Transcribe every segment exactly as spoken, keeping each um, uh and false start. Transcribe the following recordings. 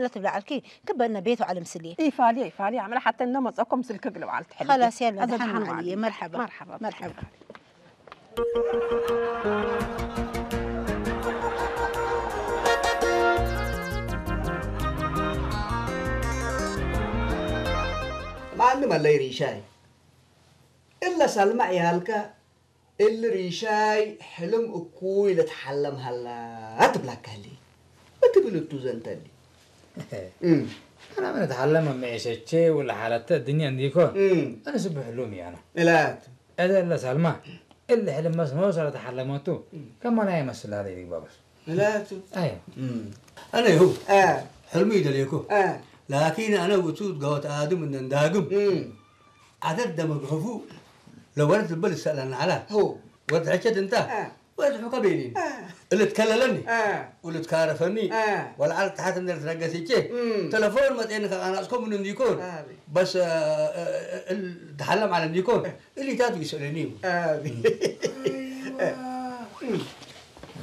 ለትብለ ዐልኪ፣ ክበ እነ ቤት ወዐለ ምስልዬ። ኢፋልየ፣ ኢፋልየ፣ አምረ ሐተ እነ መጸኮ ምስልኪ እግል በዐል ትሐልፊ። ኸላስ፣ የለ፣ አዘ ደሓን ደሓን መዓልዬ። መዓልዬ። መርሐባ። መርሐባ። መርሐባ። ማንም አለይ ሪሻይ፣ እለ ሰልመ ዕያልከ እሊ ሪሻይ ሕልም እኩይ ልትሐለም ሀላ ትብላከ ህሌ። እት ብልቱ ዘንተ እሊ። እም። አነ ምን እትሐለመ መዔሸቼ ወለ ሓለተ እድንየ እንዲኮን፣ እም። አነ ስብ ሕሉም ያነ። እላት። እለ እለ ሳልማ፣ እለ ሕልም መስኖ ሰለተሐለመቱ፣ እም። ከማና ይመስል ሀለ ይግባ በስ። እላት። አዮ። እም። አነ ይሁ፣ አ። ሕልሙ ይደሌኮ። አ። ላኪን አነ ውቱ ገወት አድም እንደ እንዳግም። እም። ዐደድ ደመግሐፉ ለወለት ልበ ልሰአለኒ ዐለ። ሁ። ወድ ሕቸት እንተ አ። ወድ ሑከ ቤሊኒ። አ። እሊ ትከለለኒ አ። ወልትካረፈኒ አ። ወለዐል ተሐት እንደ ልትነገስ እቼ እም። ተለፎን መጤኒ ከቃናጽኮ ምን እንዲኮን አቤ። በስ፣ እ፣ እ፣ እል ተሐለም ዐለ እንዲኮን እ። እሊታት ይስአለኒ። አቤ።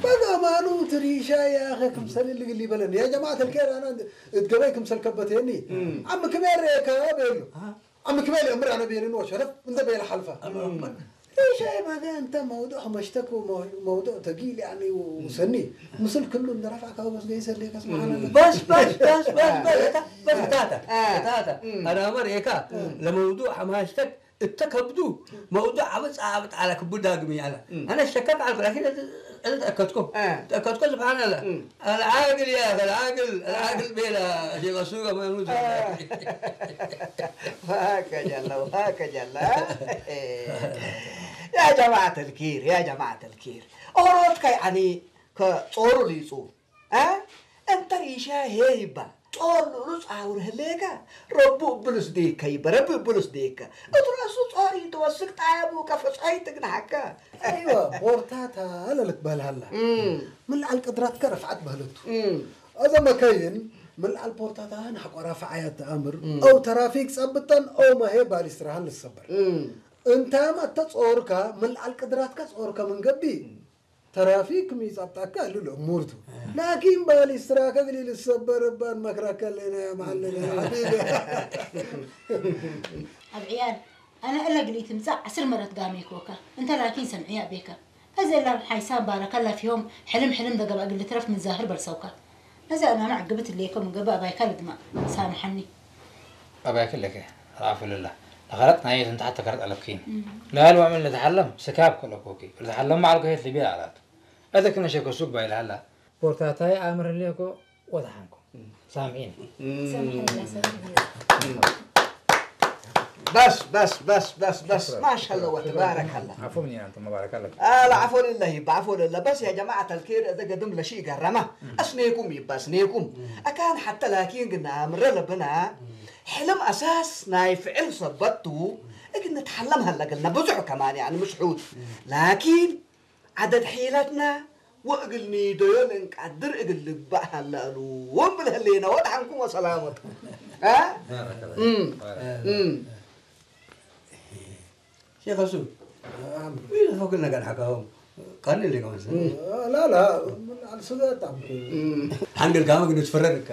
በገማኑ ትሪሻ ያኸ ክምሰል እሊ ግሊ በለኒ። ያ ጀማዐት አልኬር አነ እት ገበይ ክምሰል ከበቴኒ። እም። አም ክሜር ከ ቤሉ። አ። አም ክሜ ለእምር አነ ቤንን ወሸረፍ እንደ ቤለ ሐልፈ። አላሁ አክበር። ሪሻይ በገ እንተ መውዱዕ መሽተክ ወመውዱዕ ተጊል ያኒ ወሰኒ ምስል ክሉ እንደ ረፍዐ ከበ በስ ገይሰ ሌከ ስብሓን አላህ። በስ፣ በስ፣ በስ፣ በስ፣ በስ፣ እታ፣ በስ እታተ፣ አ። እታተ። እም። አነ አመር ኤካ እም። ለመውዱዕ ሐማሽተክ እተ ከብዱ መውዱዕ አብጥ አብጥ አለ ክቡ ዳግም ያለ። እም። አነ ሸከክ አልኩ፣ ላኪን እዝ፣ እዝ ተአከድኮ። አ። ተአከድኮ ስብሓን አላህ። እም። አልዓግል ያ አኺ፣ አልዓግል፣ አልዓግል ቤላ ሼኽ ሱቅ አማኑት። አ። ወሀከ ጀለ፣ ወሀከ ጀለ። ያ ጀማዐት አልኪር፣ ያ ጀማዐት አልኪር። ኦሮት ከይ አኒ ከጾሩ ሊጹ። አ? እንተ ሪሻ ሄይ እባ ጾር ልዑሉ ጻውር ህሌከ፣ ረቡ እብሉ ስዴከ ይበ፣ ረቢ እብሉ ስዴከ። እት ረአሱ ጾር ኢትወስክ ጣየቡ ከፍጾይ ትግንሐከ። አይወ፣ ቦርታታ ለልትበህል ሀላ። እም። ምን ለዐል ቅድራትከ ረፍዐት በህለቱ። እም። አዘ መከይን ምን ለዐል ቦርታታህን ሐቆ ራፍዓያት ተአምር፣ እም። አው ተራፊክ ጸብጠን፣ አው ማሄ ባሊስትራህን ልሰበር። እም። እንታም አተ ጾርከ፣ ምን ለዐል ቅድራትከ ጾርከ ምን ገብእ፣ እም። ተራፊክ ሚ ጸብጠከ እሉ ለእሙር ቱ። እም። ላኪን ባሊስትራከ እግል ልሰበር እባን መክረከ ለነ መዐልነ ሐቢቢ። አብ ዕያል፣ አነ እለ እግል ኢትምጸእ ዐስር መረት ጋሜኮከ፣ እንተ ላኪን ሰምዕየ አቤከ። አዜ እለ ሓይሳም ባረከ ለፊሆም ሕልም ሕልም ለገብአ እግል ልትረፍ ምን ዛህር በልሰውከ። አዜ አነ አነ ዐግብት እሌኮ ምን ገብእ አባይከ ልድመዕ፣ ሳምሐኒ። አባይከ ለከ፣ አልዓፉ ልላህ። ለኸለጥ ናየት እንተ ሐተ ከረት አለብኪን። እም። ለአልወ ምን ልትሐለም ስካብ ከለኮኪ። ልትሐለም መዐልኮ ሄት ልቤ አላት። አዜ ክነ ሸከ ሱቅ ባይል ሀላ። ቦርታታይ አምር እሌኮ ወተሐንኮ። እም። ሳምሒን። እም። ሳምሒን፣ ሳምሒን። በስ፣ በስ፣ በስ፣ በስ፣ በስ። ሽክረን። ማሻአላህ ወተባረከላህ። አፎ ምን አንተ መባረክ አለክ። አለ አፎ ልላህ ይባ፣ አፎ ልላህ። በስ ያ ጀማዐት አልኬር፣ እዘ ገድም ለሺ ገረመ። እም። አስኔኩም ይባ፣ አስኔኩም። እም። አካን ሐተ ላኪን ግና አምረ ለብና፣ እም። ሕልም አሳስ ናይ ፍዕል ሰበት ቱ፣ እግል ንትሐለም ሀለ እግልነ ብዙሕ ከማን፣ ያኒ፣ ምስሑት። እም። ላኪን ዐደድ ሒለትነ ወእግል ኒደዮ ለእንቀድር እግል ልግበእ ሀለ እሉ ወእምብል ህሌነ ወድሐንኩም ወሰላመት። አ? ባረከላህ። እም። ባረከላህ። እም። ሼኽ እሱ፣ አም። ምን ፈክል ነገር ሐካሁም? ቃል እንደ ከመሰለ። እም። ላ፣ ላ፣ ምን አልስገጣም። እም። ሐንገል ጋመ ግን ትፈረድ እከ።